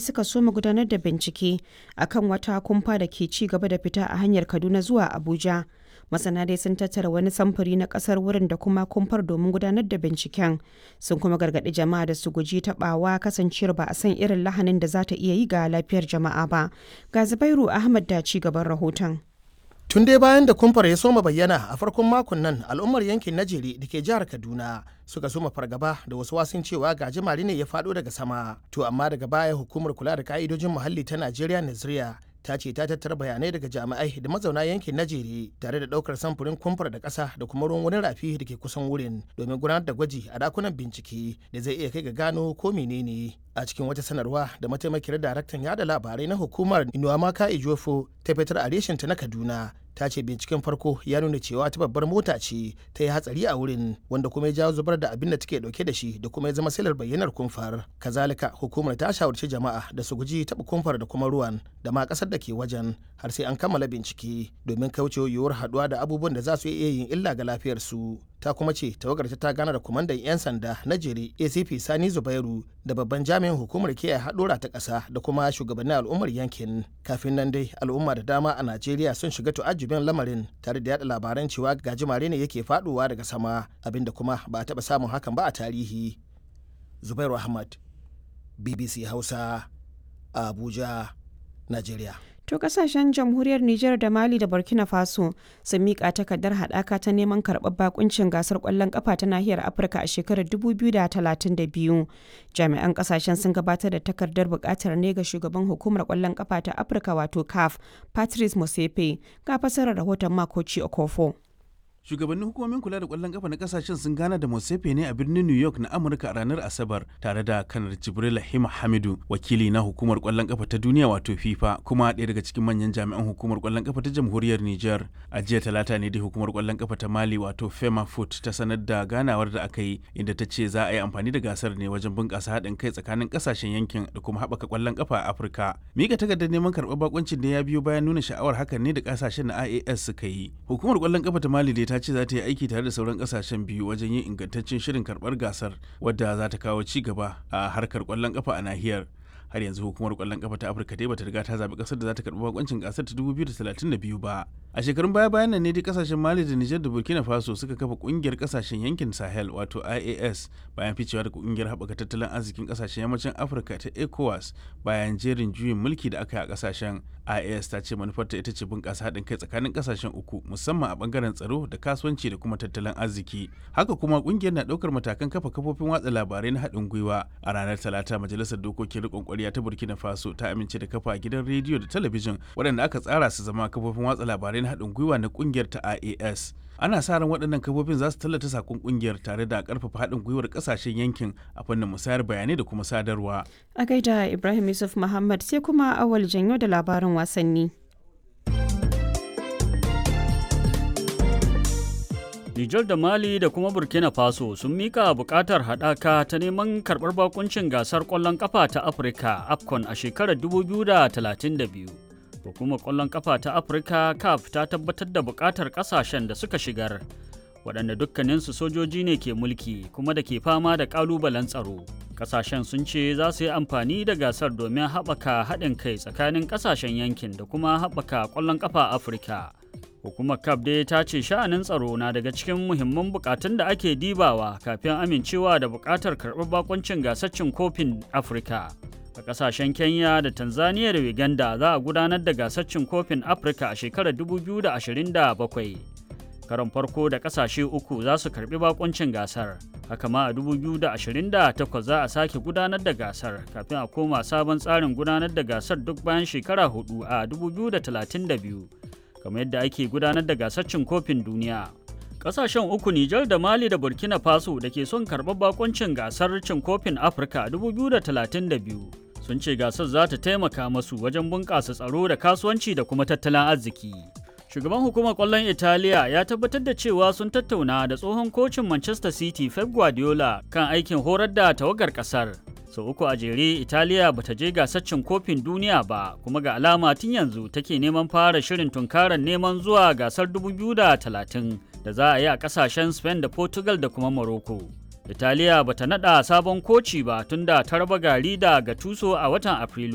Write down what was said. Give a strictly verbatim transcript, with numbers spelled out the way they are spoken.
Suka soma gudanar da bincike a kan wata kumfa da ke ci gaba da fita a hanyar Kaduna zuwa Abuja. Masana dai sun tattara wani samfuri na kasar wurin da kuma kumfar domin gudanar da binciken. Sun kuma gargaɗi jama'a da su guji taɓawa, kasancewar ba a san irin lahanin da za ta iya yi ga lafiyar jama'a ba. Ga Zubairu Ahmad da ci gaban rahoton. Tun dai bayan da kumfar ya soma bayyana a farkon makon nan, al'ummar yankin Najeri da ke jihar Kaduna suka soma fargaba da wasu wasun cewa gajimare ne ya faɗo daga sama. To amma daga baya hukumar kula da ka'idojin muhalli ta Najeriya, Naziriya, ta ce ta tattara bayanai daga jami'ai da mazauna yankin Najeri tare da ɗaukar samfurin kumfar da ƙasa da kuma ruwan wani rafi da ke kusan wurin domin gudanar da gwaji a dakunan bincike da zai iya kai ga gano ko menene. A cikin wata sanarwa da mataimakiyar daraktan yada labarai na hukumar, Inuwamaka Ejiofor, ta fitar a reshenta na Kaduna, ta ce binciken farko ya nuna cewa ta babbar mota ce ta yi hatsari a wurin, wanda kuma ya jawo zubar da abin da take dauke da shi da kuma ya zama silar bayyanar kumfar. Kazalika hukumar ta shawarci jama'a da su guji taɓa kumfar da kuma ruwan da ma ƙasar da ke wajen har sai an kammala bincike domin kaucewa yiwuwar haɗuwa da abubuwan da za su iya yin illa ga lafiyarsu. Ta kuma ce tawagar ta gana da kwamandan 'yan sanda na Jere, A C P Sani Zubairu, da babban jami'in hukumar kiyaye haɗura ta ƙasa da kuma shugabannin al'ummar yankin. Kafin nan dai al'umma da dama a Najeriya sun shiga tu'ajjubin lamarin tare da yada labaran cewa gajimare ne yake faɗowa daga sama, abinda kuma ba a taɓa samun hakan ba a tarihi. Zubairu Ahmad, B B C Hausa, Abuja, Najeriya. To kasashen Jamhuriyar Nijar da Mali da Burkina Faso sun miƙa takardar haɗaka ta neman karɓar bakuncin gasar ƙwallon ƙafa ta nahiyar Afirka a shekarar dubu biyu da talatin da biyu. Jami'an kasashen sun gabatar da takardar buƙatar ne ga shugaban hukumar ƙwallon ƙafa ta Afirka, wato CAF, Patrice Motsepe. Ga fasarar rahoton Makoci Okofo. Shugabannin hukumomin kula da kwallon kafa na kasashen sun gana da Motsepe ne a birnin New York na Amurka a ranar Asabar tare da Kanar Jibril Hima Hamidu, wakili na hukumar kwallon kafa ta duniya wato FIFA, kuma ɗaya daga cikin manyan jami'an hukumar kwallon kafa ta Jamhuriyar Niger. A jiya Talata ne dai hukumar kwallon kafa ta Mali wato Fema Foot ta sanar da ganawar da aka yi, inda ta ce za a yi amfani da gasar ne wajen bunƙasa haɗin kai tsakanin kasashen yankin da kuma haɓaka kwallon kafa a Afirka. Mika takardar neman karɓar bakuncin da ya biyo bayan nuna sha'awar hakan ne da kasashen na I A S suka yi. Hukumar kwallon kafa ta Mali dai ta ce za ta yi aiki tare da sauran kasashen biyu wajen yin ingantaccen shirin karbar gasar wadda za ta kawo ci gaba a harkar kwallon kafa a nahiyar. Har yanzu hukumar kwallon kafa ta Afirka dai bata riga ta zabi kasar da za ta karbi bakoncin gasar ta dubu biyu da talatin da biyu ba. A shekarun baya bayan nan ne dai kasashen Mali da Nijar da Burkina Faso suka kafa kungiyar kasashen yankin Sahel wato I A S, bayan ficewa daga kungiyar haɓaka tattalin arzikin kasashen yammacin Afirka ta ECOWAS bayan jerin juyin mulki da aka yi a kasashen. I A S ta ce manufarta ita ce bunƙasa haɗin kai tsakanin kasashen uku, musamman a bangaren tsaro da kasuwanci da kuma tattalin arziki. Haka kuma kungiyar na ɗaukar matakan kafa kafofin watsa labarai na haɗin gwiwa. A ranar Talata majalisar dokokin riƙon ƙwarya ta Burkina Faso ta amince da kafa gidan rediyo da talabijin waɗanda aka tsara su zama kafofin watsa labarai na haɗin gwiwa na ƙungiyar ta I A S. Ana sa ran waɗannan kafofin za su tallata sakon ƙungiyar tare da ƙarfafa haɗin gwiwar ƙasashen yankin a fannin musayar bayanai da kuma sadarwa. A gaida Ibrahim Yusuf Muhammad. Sai kuma Awal Janyo da labarin wasanni. Nijar da Mali da kuma Burkina Faso sun mika bukatar haɗaka ta neman karɓar bakuncin gasar ƙwallon ƙafa ta Afirka AFCON a shekarar dubu biyu da talatin da biyu. Hukumar ƙwallon ƙafa ta Afirka CAF ta tabbatar da bukatar ƙasashen da suka shigar, waɗanda dukkaninsu sojoji ne ke mulki kuma da ke fama da ƙalubalen tsaro. Ƙasashen sun ce za su yi amfani da gasar domin haɓaka haɗin kai tsakanin ƙasashen yankin da kuma haɓaka ƙwallon ƙafa Afirka. Hukumar CAF dai ta ce sha'anin tsaro na daga cikin muhimman bukatun da ake dibawa kafin amincewa da bukatar karɓar bakuncin gasar cin kofin Afirka. A ƙasashen Kenya da Tanzania da Uganda za a gudanar da gasar cin kofin Afirka a shekarar dubu biyu da ashirin da bakwai. Karon farko da ƙasashe uku za su karɓi bakuncin gasar. Haka ma a dubu biyu da ashirin da takwas za a sake gudanar da gasar kafin a koma sabon tsarin gudanar da gasar duk bayan shekara hudu a dubu biyu da talatin da biyu, kamar yadda ake gudanar da gasar cin kofin duniya. Kasashen uku, Nijar da Mali da Burkina Faso, da ke son karɓar bakuncin gasar cin kofin Afirka dubu biyu da talatin da biyu sun ce gasar za ta taimaka masu wajen bunƙasa tsaro da kasuwanci da kuma tattalin arziki. Shugaban hukumar ƙwallon Italiya ya tabbatar da cewa sun tattauna da tsohon kocin Manchester City Pep Guardiola kan aikin horar da tawagar ƙasar. Sau uku a jere Italiya bata je gasar cin kofin duniya ba, kuma ga alama tun yanzu take neman fara shirin tunkarar neman zuwa gasar dubu biyu da talatin da za a yi a kasashen Spain da Portugal da kuma Morocco. Italiya bata nada sabon koci ba tunda ta raba gari da Gattuso a watan Afrilu.